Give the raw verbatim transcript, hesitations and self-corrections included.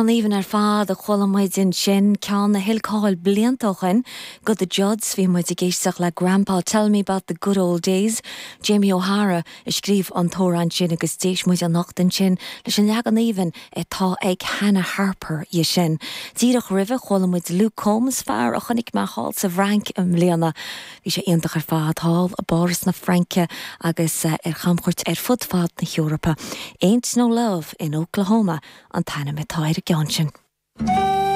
Amhrán aoibhinn ar fad a chuala muid ansin ceann a thuill cáil blianta ó shin do The Judds bhí muid ag éisteacht le Grandpa Tell Me About the Good Old Days. Jamie O'Hara a scríobh an t-amhrán sin agus d'éist muid anocht ansin leis an leagan aoibhinn atá ag Hannah Harper dhe sin. Díreach roimhe chuala muid Luke Combs fear a chonaic mé thall sa bhFrainc i mbliana. Bhí sé iontach ar fad thall i bPáras na Fraince agus eh, ar chamchuairt ar fud fad na hEorpa. Ain't No Love in Oklahoma an t-ainm atá ar an gceann sin.